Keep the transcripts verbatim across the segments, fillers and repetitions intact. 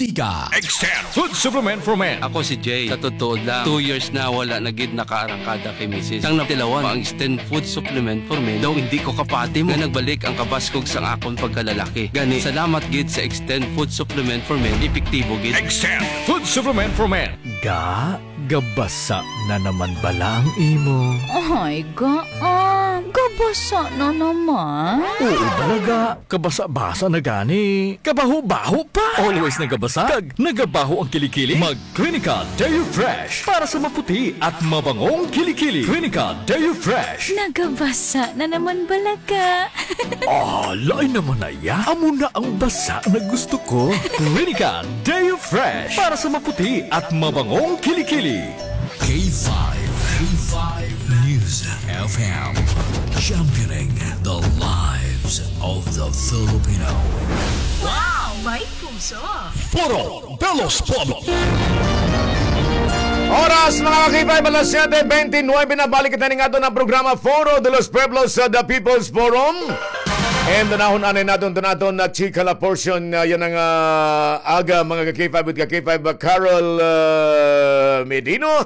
Ika. Extend Food Supplement for Men. Ako si Jay. Sa totoo lang, two years na wala na gid nakaarangkada kay misis. Sang natilawan pa ang Extend Food Supplement for Men. Daw hindi ko kapati nga nagbalik ang kabaskog sang akon pagkalalaki. Gani, salamat gid sa Extend Food Supplement for Men. Epektibo gid. Extend Food Supplement for Men. Ga, gabasa na naman bala ang imo? Ay, ga, ah, gabasa na naman. Oo, talaga. Kabasa-basa na gani. Kabaho-baho pa. Always nagabasa. Kag nagabaho ang kilikili. Mag Clinica Deo Fresh para sa maputi at mabangong kilikili. Clinica Deo Fresh. Nagabasa na naman bala ka. Ah, lain naman na iya. Amo na ang basa na gusto ko. Clinica Deo Fresh para sa maputi at mabangong kilikili. K five, K five News F M, championing the lives of the Filipino. Wow! May puso! Foro de los Pueblos. Oras, mga ka-K five, alas siyete bente nuwebe na. Balik kita ning aton nga programa, Foro de los Pueblos, sa The People's Forum. And unahon anay naton, iton aton nga chika la portion, ah, yana nga, ah, aga, mga ka-K five with ka-K five, ah, Carol, ah, Medino.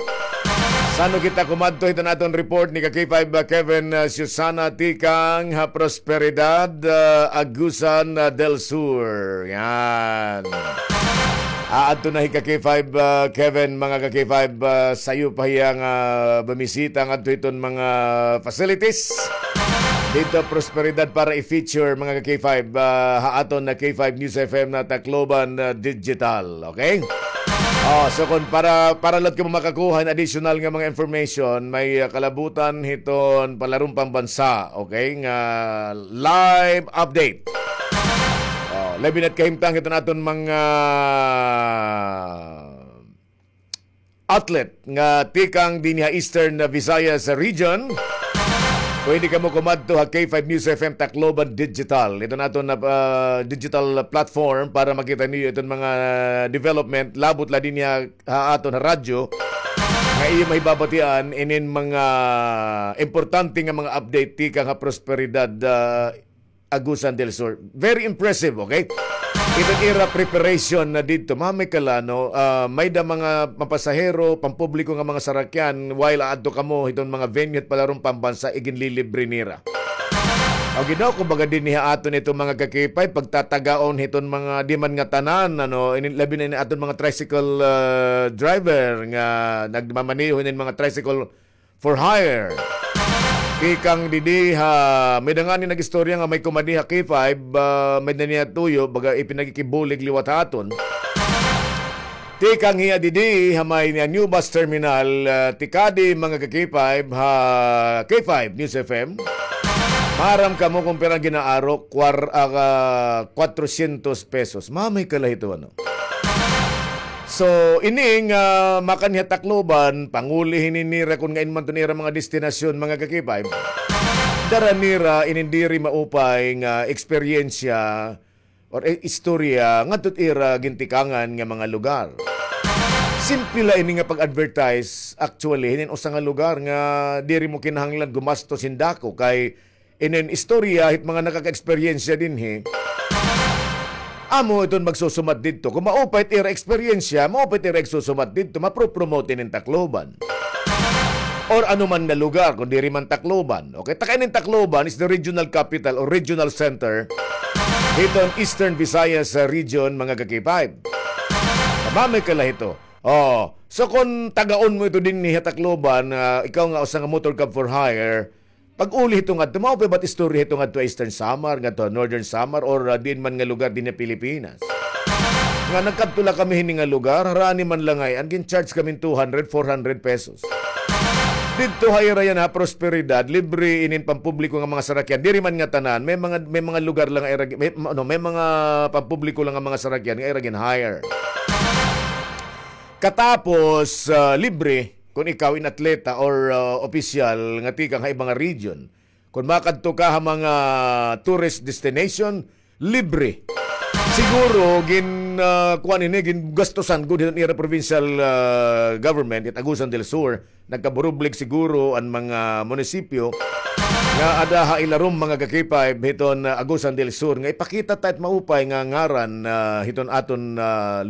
San-o kita kumadto hiton aton report ni ka-K five, ah, Kevin, ah, Susana tikang ha Prosperidad, ah, Agusan, ah, del Sur. Yan. Aadto na hi ka-K five, ah, Kevin, mga ka-K five, ah, sayo pa hiya nga bumisita ngadto hiton mga facilities didto Prosperidad para i-feature, mga ka-K five, ah, ha aton nga K five News F M nga Tacloban, ah, Digital. Okay? Oh, so kon para, para la kamo makakuha hin additional nga mga information, may, ah, kalabutan hiton palaron pambansa, okay, nga live update. Oh, labi na't kahimtang hiton aton mga athlete nga tikang dinhi ha Eastern Visayas Region. Pwede kamo kumadto ha K five News F M Tacloban Digital. Iton aton nga, ah, digital platform para makita niyo iton mga development, labot la dinhi ha, ha aton ha radyo nga iyo mahibabatian inin mga importante nga mga update tikang ha Prosperidad, ah, Agusan del Sur. Very impressive, okay? Iton ira preparation na didto. Mamay kala, no, ah, may-da mga mapasahero, pampubliko nga mga sarakyan, while aadto kamo hiton mga venue hit palaron pambansa, iginlilibre nira. O ginaw, kumbaga dinhi ha aton iton mga ka-K five, pagtatagaon hiton mga, di man ngatanan, ano, ini, labi na ini aton mga tricycle, ah, driver nga nagmamaneho hinin mga tricycle for hire. Tikang didi ha, may-da ngani nag-istorya nga may kumadi ha K five, ah, may-da niya tuyo, baga ipinagikibulig liwat ha aton. Tikang hiya didi ha may niya new bus terminal, ah, tikadi mga ka-K five ha K five News F M. Maaram kamo kon pira ginaaro, kwar-, ah, kwatrosyentos pesos. Mamay kala hito, ano? So, ini nga makanhi ha Tacloban, panguli hini nira kon ngain man iton ira mga destinasyon, mga ka-K five. Dara nira inin diri maupay nga eksperyensya or, eh, istorya ngadto hit ira gintikangan nga mga lugar. Simple la ini nga pag-advertise, actually, hinin usa nga lugar nga diri mo kinahanglan gumastos hin dako kay inin istorya hit mga nakaka-eksperyensya dinhi. Amo iton magsusumat didto. Kon maupay it ira eksperyensya, maupay it ira igsusumat didto, mapro-promote inin Tacloban. Or ano man nga lugar, kon diri man Tacloban. Okay, ta kay inin Tacloban is the regional capital or regional center hiton Eastern Visayas, ah, region, mga ka-K five. Mamay kala hito. Oh, so kon tagaon mo ito dinhi ha Tacloban, ah, ikaw nga usa nga motor cab for hire, pag-uli hito ngadto, maupay ba it istorya hito ngadto ha Eastern Samar, ngadto ha Northern Samar, or, ah, diin man nga lugar dinhi ha Pilipinas? Nga nagkadto la kami hini nga lugar, harani man la ngay-an, gin-charge kami hin two hundred, four hundred pesos. Didto ha ira yana ha Prosperidad, libre inin pampubliko nga mga sarakyan. Diri man ngatanan, may mga, may mga lugar la nga ira, may, ano, may mga pampubliko la nga mga sarakyan nga ira gin-hire. Katapos, ah, libre, kon ikaw in atleta or, ah, opisyal nga tikang ha iba nga region. Kon makadto ka ha mga tourist destination, libre. Siguro, gin, ah, kuan ini, gingastusan gud hiton ira provincial, ah, government, it Agusan del Sur, nagkaburublig siguro an mga munisipyo nga ada ha ilarom, mga ka-K five, hiton, ah, Agusan del Sur, nga ipakita ta it maupay nga ngaran, ah, hiton aton, ah,